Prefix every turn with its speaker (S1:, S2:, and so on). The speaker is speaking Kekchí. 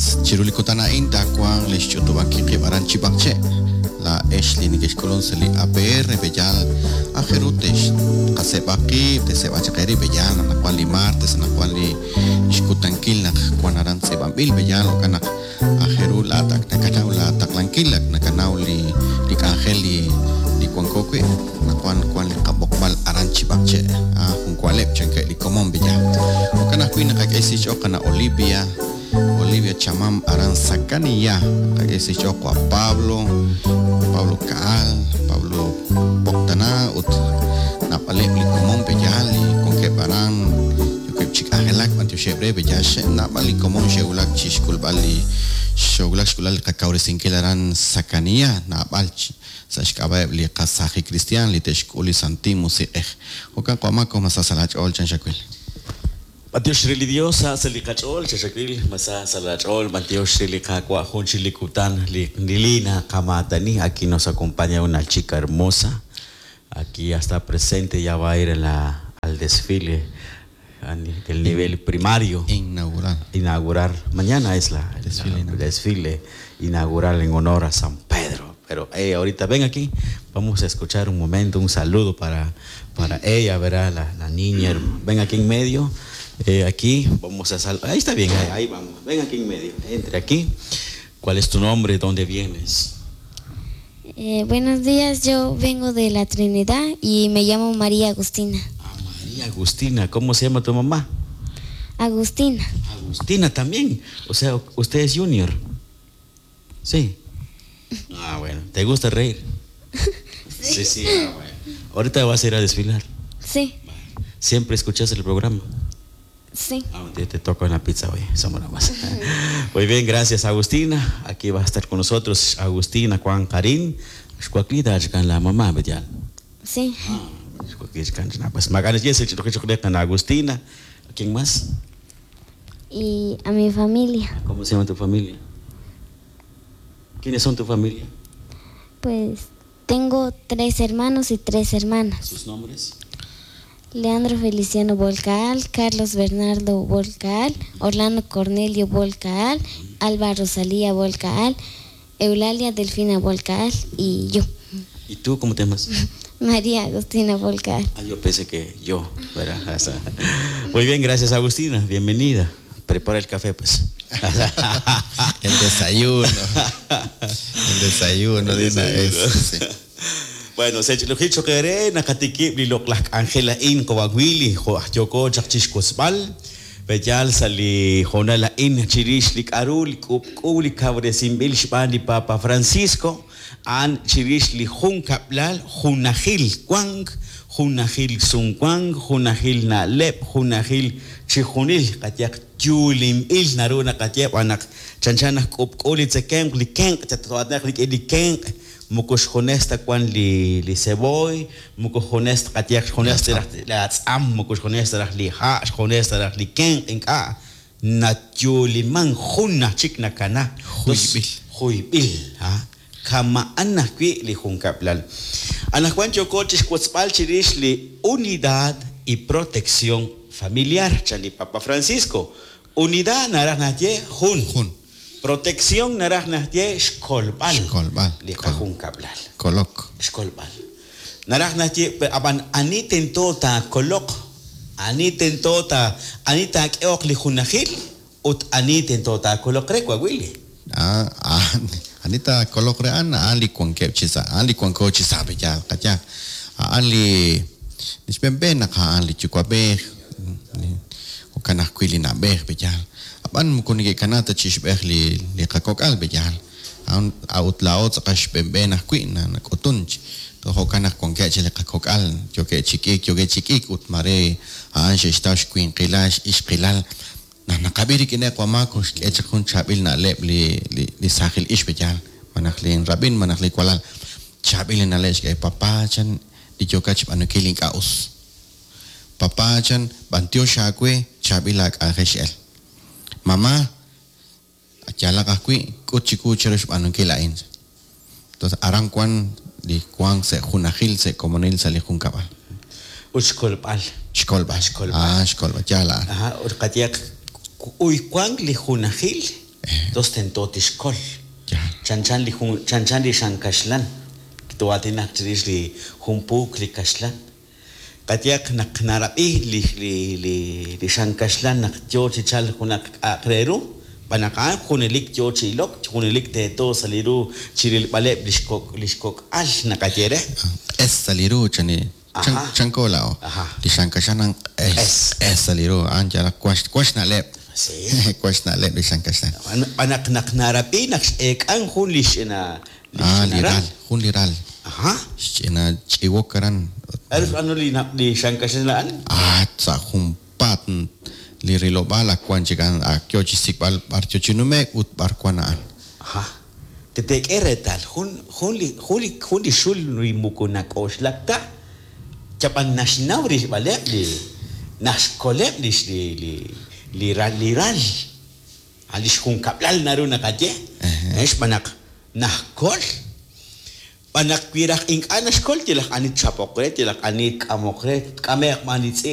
S1: Chiru li kutan a'in taawanq li xch'utub'ankil qib' aran Chib'aqche'. Laa'ex li nekexk'ulun sa' li APR b'eyaal aajel ru texqaseeb'a qib', teeseeb'a chaq eerib' b'eyaal anaqwan li martes, anaqwan li xkutankil naq wan aran tz'iib'anb'il b'eyaal jo'kan naq aajel ru laa'at ak nakanaw laa taqlankil, ak nakanaw li li k'anjel li li wanko wi', anaqwan wan li qab'oqb'al aran Chib'aqche'. Ah, jun wa'leb' chankeb' li komon b'eyaal. Jo'kan ajwi' naqak'e xch'ool qana' Olivia, Olivia Chamam aran Sacanilla, naqak'e xch'ool Juan Pablo, Pablo Caal, Pablo Poctana ut naab'aleb' li komon b'eyaal li wankeb' aran yookeb' chi k'anjelak b'antioxeb' re b'eyaal xe' naab'al li komon xe'wulak chi xk'ulb'al li xe'wulak xk'ulb'al li qakawresinkil aran Sacanilla naab'al sa' xk'ab'a'eb' li qasaajil kristiaan li te'xk'ul li Santil Musiq'ej. Jo'kan q'o'mako ma sa sa' laach'ool chan xawil.
S2: B'antiox re li Dios sa sa' li qach'ool, chaxawil, ma sa sa' laach'ool, b'antiox re li Qaawa' jun chik li kutan li nilina qamaatani, aquí nos acompaña una chica hermosa, aquí ya está presente, ya va a ir a la, al desfile del nivel primario.
S1: Inaugural.
S2: Inaugurar, mañana es la,
S1: Desfile
S2: la-
S1: inaugural.
S2: desfile inaugural en honor a San Pedro. Pero hey, ahorita ven aquí, vamos a escuchar un momento, un saludo para, para ella, verá, la, la niña. Ven aquí en medio, aquí vamos a saludar. Ahí está bien, ahí, ahí vamos. Ven aquí en medio, entre aquí. ¿Cuál es tu nombre? ¿Dónde vienes?
S3: Buenos días, yo vengo de la Trinidad y me llamo María Agustina.
S2: Ah, María Agustina, ¿cómo se llama tu mamá?
S3: Agustina,
S2: Agustina también. O sea, usted es junior. Sí. Ah, bueno. ¿Te gusta reír? Sí, sí. ah, bueno. Ahorita vas a ir a desfilar.
S3: sí,
S2: Siempre escuchas el programa.
S3: sí.
S2: Ah, un día te toco en la pizza hoy. Somos nada más. Muy bien, gracias Agustina. Aquí va a estar con nosotros Agustina Juan Karin. Xcuaquita, la mamá, ¿verdad?
S3: Sí,
S2: Ah, Pues Maganes, yes, Agustina. ¿Quién más?
S3: y a mi familia.
S2: ¿Cómo se llama tu familia? ¿Quiénes son tu familia?
S3: Pues tengo 3 hermanos y 3 hermanas.
S2: ¿Sus nombres?
S3: Leandro Feliciano Volcaal, Carlos Bernardo Volcaal, Orlando Cornelio Volcaal, Alba Rosalía Volcaal, Eulalia Delfina Volcaal y yo,
S2: ¿Y tú cómo te llamas?
S3: María Agustina Volcaal.
S2: Ah, yo pensé que yo, ¿verdad? Muy bien, gracias Agustina, bienvenida. Prepara el café, pues.
S1: El desayuno. El desayuno de una vez. Sí.
S2: Bueno, se lo hicho que nakatikib li loqlaj Angela in kowawili jo yoko chaq chixkosb'al beyal sali jonala in chirix li k'aru li k'ub'k'u li kawresinb'il xb'aan li Papa Francisco an chirix li jun kab'lal junajil wank junajil sumwank junajil na'leb' junajil chijunil qayaq yulinb'il naru naqayeb' anaq chanchan naj k'ub'k'u li tzekemq li kenq' chatato'atnaq rik'in li kenq' moko xjunes ta wan li li ceboy, moko xjunes ta qayaq xjunes ta raj la atz'am, moko xjunes ta raj li ha', xjunes ta raj li kenq' ink'a' nayuliman jun naj chik nakana.
S1: Juyb'il.
S2: Juyb'il, ha? Kama'an ajwi' li junkab'lal. Anajwan yoko chixwotzb'al chirix li unidad y protección familiar, chan li Papa Francisco. Unidad naraj naye jun.
S1: Jun.
S2: Protección naraj naye xkolb'al.
S1: Xkolb'al.
S2: Li qajunkab'lal.
S1: Kolok.
S2: Xkolb'al. Naraj naye ab'an ani tento ta kolok, ani tento ta ani taak'eoq li junajil ut ani tento ta kolok re wawili.
S1: Ah, ah, anita kolok re an, aan li wankeb' chi sa', aan li wanko chi sa' b'eyaal qayaq. Aan li xb'enb'e naq aan li yuwa'b'ej, jo'kan ajwi' li na'b'ej b'eyaal. Ab'an moko neke'kana ta chixb'ej li li qakok'al b'eyaal. A'an a'ut laa'o tz'aqal xb'enb'e ajwi' na nak'utun jo'kan naq wankeb' chi li qakok'al yookeb' chi k'iik, yookeb' chi k'iik ut mare a'an xe'xtaw xwinqilal, xixqilal. Naq naqab'i rik'ineb' wamaak xk'e chaq jun chaab'il na'leb' li li li saajil ix b'eyaal. Malaj li rab'in, malaj li walal. Chaab'il li na'leb' xk'e papá chan li yookat xb'aanunkil ink'a' us. Papá chan b'antiox aawe chaab'il aak'anjel x'el. Mamá yalaq ajwi' k'ut chiwu chiru xb'aanunkil a'in. Entonces aran wan li wank sa' junajil sa' komonil sa' li junkab'al.
S2: Ut xkolb'al.
S1: Xkolb'al.
S2: Xkolb'al.
S1: Ah, xkolb'al. Yaal a'an.
S2: Ajá, ut qayaq uy wank li junajil Tos tento tixkol.
S1: Yaal.
S2: Chanchan li jun chanchan li xan kaxlan. Too'aatinaq chirix li jun puuk li kaxlan. Qayehaq naq narab'i li li li li xan kaxlan naq yoo chi chalk junaq k'a'aq re ru, xb'aan naq a'an junelik yoo chi ilok, junelik teeto sa' li ru chirilb'aleb' lix kok' lix kok'al naqaye re.
S1: Q'es sa' li ru chani chan
S2: Ajá.
S1: chanko laa'o.
S2: Ajá.
S1: Li xan kaxlan a'an q'es
S2: Q'es.
S1: q'es sa' li ru a'an yalaq wan wan xna'leb'.
S2: Sí.
S1: Wan xna'leb' li xan kaxlan.
S2: Xb'aan naq naq narab'i naq x'eek'an jun li xch'ina li
S1: Ah, li
S2: xch'ina
S1: ral, jun li ral.
S2: Ajá.
S1: Xch'ina ch'iwok aran.
S2: K'aru xb'aanu li na- li xan kaxlan a'an?
S1: Ah, sa' junpaat li rilob'aal ak wan chik a'an, ak yoo chi xsik'b'al b'ar yoo chi nume'k ut b'ar wan a'an.
S2: Ajá. Te teek'e reetal jun jun li jun li jun li xul li moko nak'oxlak ta chab'an naxnaw rilb'aleb' li naxkoleb' lix li li li ral li ral a lix junkab'lal naru naqaye
S1: Ejé.
S2: eh, xb'aan naq najkol xb'aan naq wi raj ink'a' naxkol yalaq ani tchapoq re yalaq ani tk'amoq re tk'ame'q b'an li tz'i'